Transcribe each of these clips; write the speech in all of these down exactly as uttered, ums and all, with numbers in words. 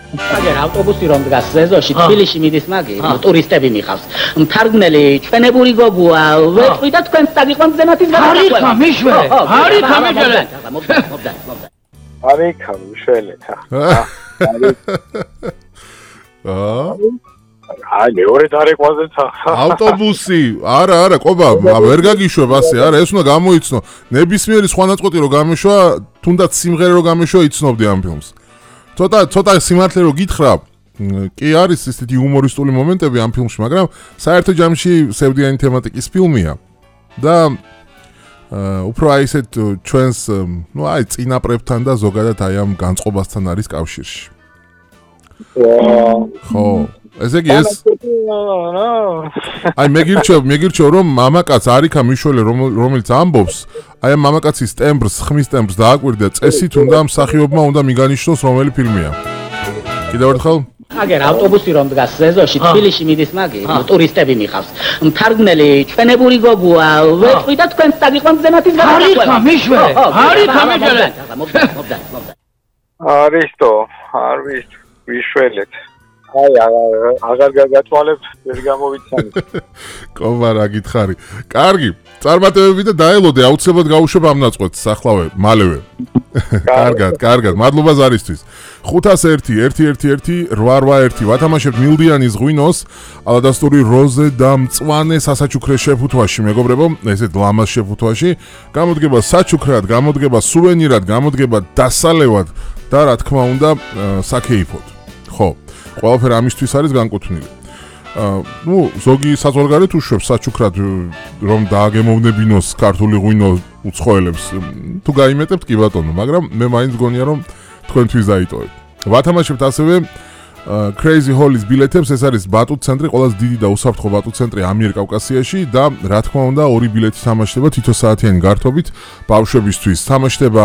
აგერ ავტობუსი რომ დგას ზეზოში თბილისში მიდის მაგი ტურისტები მიხავს მთარგმნელი ჩვენებური გოგოა ვეთყვი და თქვენს დაგიყვანთ ზემათის გარდახვევა მიშვე არის ამეჯერე არის გამიშველეთა აა აი მეორე დარეკვაზე ავტობუსი არა არა ყობა ვერ გაგიშვებ ასე არა ეს უნდა გამოიცნო ნებისმიერი სხვა ნაწყვეტი რო გამიშვა თუნდაც სიმღერა რო გამიშვა იცნობდი ამ ფილმს ცოტა ცოტა სიმართლე რო გითხრა კი არის ისეთი იუმორისტული მომენტები ამ ფილმში მაგრამ საერთო ჯამში სევდიანი თემატიკის ფილმია და უფრო აი ესეთ ჩვენს ნუ აი წინაპრებთან და ზოგადად აი ამ განწყობასთან არის კავშირში ხო ესე იგი ეს აი მეგირჩევ მეგირჩევ რომ მამაკაც არიქა მიშველი რომელიც ამბობს აი ამ მამაკაცის ტემბრს ხმის ტემბრს დააკვირდა წესით უნდა მსახიობმა უნდა მიგანიშნოს რომელი ფილმია კიდევ ერთხელ აგერ ავტობუსი რომ დგას ზეზოში თბილისში მიდის მაგი ტურისტები მიხავს მთარგმნელი ჩვენებური გოგოა ვეთყვი და თქვენს დაგიყვანთ ზემათის გარდახვევა არის მიშვე არის ამეჯერე არის თო არის ვიშველეთ აი აღარ გაგათვალებ ვერ გამოვიცანით კობა რა გითხარი კარგი წარმატებები და დაელოდე აუცილებლად გავუშვებ ამ ნაწყვეტს ახლავე მალევე კარგად კარგად მადლობა ზარისთვის ხუთას ერთი ერთი ერთი ერთი რვა რვა ერთი ვათამაშებთ მილდიანის ღვინოს ალადასტური როზე და მწვანე სასაჩუქრე შეფუთვაში მეგობრებო ესეთ ლამაზ შეფუთვაში გამოდგება საჩუქრად გამოდგება სუვენირად გამოდგება დასალევად და რა თქმა უნდა საკეიფოდ ხო ყველაფერი ამისთვის არის განკუთვნილი. აა ნუ ზოგი საზღვარგარეთ უშვებს საჩუქრად რომ დააგემოვნებინოს ქართული ღვინო უცხოელებს. თუ გაიმეტებთ კი ბატონო, მაგრამ მე მაინც გონია რომ თქვენთვის დაიტოვებ. ვათამაშებთ ასევე Crazy Hall-ის ბილეთებს, ეს არის ბატუტ центრი, ყველაზე დიდი და უსაფრთხო ბატუტ ცენტრი ამიერკავკასიაში და რა თქმა უნდა ორი ბილეთი თამაშდება თითო საათიანი გართობით ბავშვებისთვის. თამაშდება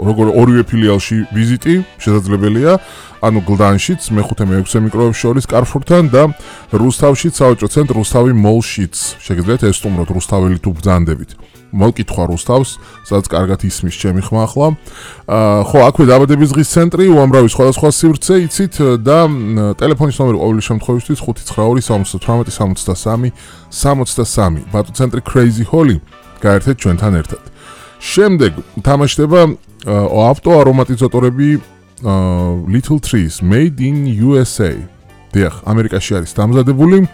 როგორ ორივე ფილიალში ვიზიტი შესაძლებელია, ანუ გლდანშიც, მეხუთე მეექვსე მიკროებს შორის კარფურთან და რუსთავშიც, საოჯო ცენტრ რუსთავი მოლშიც. შეგიძლიათ ესტუმროთ რუსთაველი თუ ბრძანდებით. მოკითხვა რუსთავს, სადაც კარგად ისმის ჩემი ხმა ახლა. აა ხო, აქვე დაბადების დღის ცენტრი, უამრავი სხვადასხვა სივრცე იცით და ტელეფონის ნომერი ყოველი შემთხვევისთვის ხუთი ცხრა ორი სამოცდათვრამეტი სამოცდასამი სამოცდასამი. ბატუტ ცენტრი Crazy Hall-ი გაერთეთ ჩვენთან ერთად. შემდეგ თამაშდება ავტო არომატიზატორები Little Trees Made in U S A. დიახ, ამერიკაში არის დამზადებული.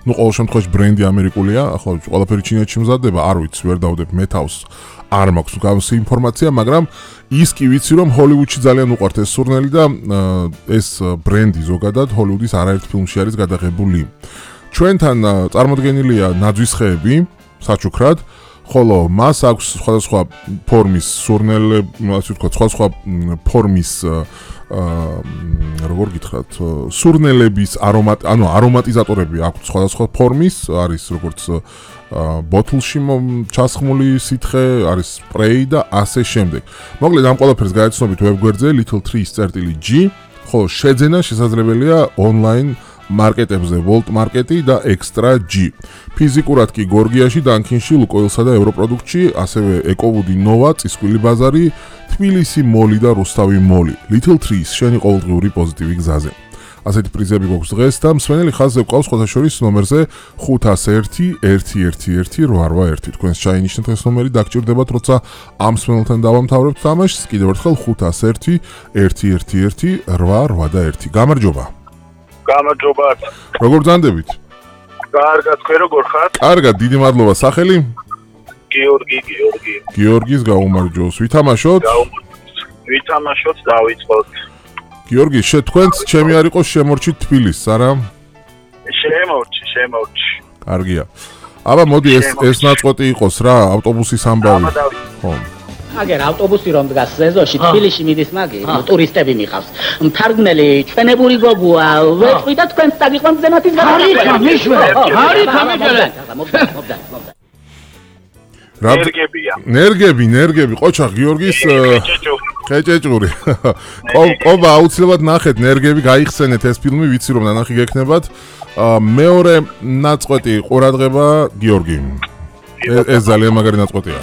ნუ ყოველ შემთხვევაში ბრენდი ამერიკულია, ახლა ყველაფერი ჩინეთში მზადდება, არ ვიცი, ვერ დავდებ მეთავს, არ მაქვს გავსი ინფორმაცია, მაგრამ ის კი ვიცი, რომ ჰოლივუდში ძალიან უყვართ ეს სურნელი და ეს ბრენდი ზოგადად ჰოლივუდის არაერთ ფილმში არის გადაღებული. ჩვენთან წარმოდგენილია ნაძვის ხეები, საჩუქრად, ხოლო მას აქვს სხვადასხვა ფორმის სურნელები, ასე ვთქვათ, სხვადასხვა ფორმის აა როგორ გითხრათ, სურნელების არომატ, ანუ არომატიზატორები აქვს სხვადასხვა ფორმის, არის როგორც ბოთლში ჩასხმული სითხე, არის სპრეი და ასე შემდეგ. მოკლედ ამ ყველაფერს გაეცნობით ვებგვერდზე little trees წერტილი G, ხოლო შეძენა შესაძლებელია ონლაინ მარკეტებზე Volt Market-ი და Extra G. ფიზიკურად კი გორგიაში, დანქინში, ლუკოილსა და ევროპროდუქტში, ასევე ეკოვუდი ნოვა, წისქვილი ბაზარი, თბილისი მოლი და რუსთავი მოლი. Little Trees შენი ყოველდღიური პოზიტივი გზაზე. ასეთი პრიზები გვაქვს დღეს და მსმენელი ხაზზე გვყავს სხვათა შორის ნომერზე ხუთას ერთი ერთი ერთი ერთი რვა რვა ერთი. თქვენს ჩაინიშნეთ ეს ნომერი დაგჭირდებათ, როცა ამ მსმენელთან დავამთავრებთ თამაშს. კიდევ ერთხელ ხუთას ერთი ერთი ერთი ერთი რვა რვა ერთი. გამარჯობა. გამარჯობათ. როგორ ძანდებით? კარგად, თქვენ როგორ ხართ? კარგად, დიდი მადლობა. სახელი? გიორგი, გიორგი. გიორგის გაუმარჯოს. ვითამაშოთ? ვითამაშოთ, დავიწყოთ. გიორგი, შეთქვენც ჩემი არ იყოს შემორჩით თბილისს, არა? შემორჩი, შემორჩი. კარგია. აბა მოდი ეს ეს ნაწყვეტი იყოს რა, ავტობუსის ამბავი. ხო. აგერ ავტობუსი რომ დგას ზეზოში თბილისში მიდის მაგი ტურისტები მიხავს მთარგმნელი ჩვენებური გოგოა ვეთყვი და თქვენს დაგიყვანთ ზემათის გარდახვევა არის მიშვე არის ამეჯერე ნერგებია ნერგები ნერგები ყოჩა გიორგის ხეჭეჭური ყობა აუცილებლად ნახეთ ნერგები გაიხსენეთ ეს ფილმი ვიცი რომ ნანახი გექნებათ მეორე ნაწყვეტი ყურადღება გიორგი ეს ძალიან მაგარი ნაწყვეტია